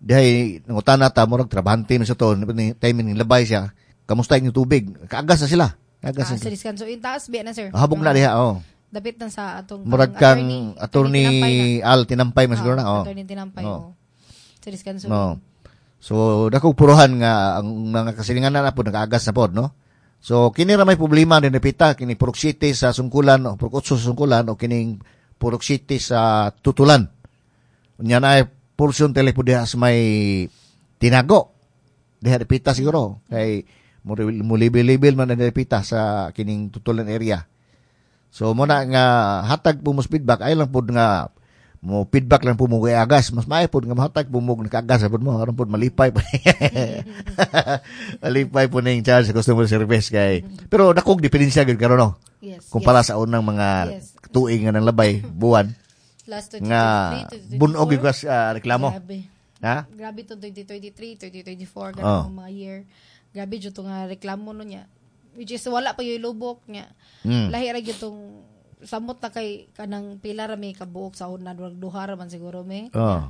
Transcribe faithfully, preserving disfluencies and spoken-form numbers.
Dihay nangutana ta, murag trabahante man sa to, ni time ning labay siya. Kamusta inyong tubig? Kaagas na sila. Kaagas Ah, na sa sila. Descanso Inn taas biya na, sir. Habog na diha, oh. Dapit na sa atong Murag kanang kang attorney, attorney Tinampay na. Al Tinampay man siguro na, Ah, oh. Attorney Tinampay, Oh. oh. Sa Descanso. No. So dakong puruhan nga ang mga kasilingan na pod nagaagas na pod, no. So kini ra may problema din repita kini Purok City sa Sungkulan o Purok Otso sa Sungkulan o kining Purok City sa Tutulan. Unya na ay portion telepo diha sa may Tinago. Diha repita siguro kay mo libil-libil man ang repita sa kining Tutulan area. So mo na nga hatag po mo feedback ay lang pod nga mo feedback lang po mo kay agas, mas maayo pod nga mohatag po mo nakagas pod mo aron pod malipay pa, malipay po ning charge sa customer service kay pero dakong diferensya gyud karon, no, Yes. kumpara yes. sa unang mga Yes. tuig nga nang labay buwan Last nga twenty twenty-three, twenty twenty-four. bunog gyud kas ah, reklamo. Grabe. Ha. Grabe to twenty twenty-three, twenty twenty-four, Oh. ganang mga year. Grabe jud to nga reklamo no niya. Which is wala pa yung lubok niya. Mm. Lahi ra gyud tong samot na kay kanang pila ra may kabuok sa una, duha, duha ra man siguro may. Oh.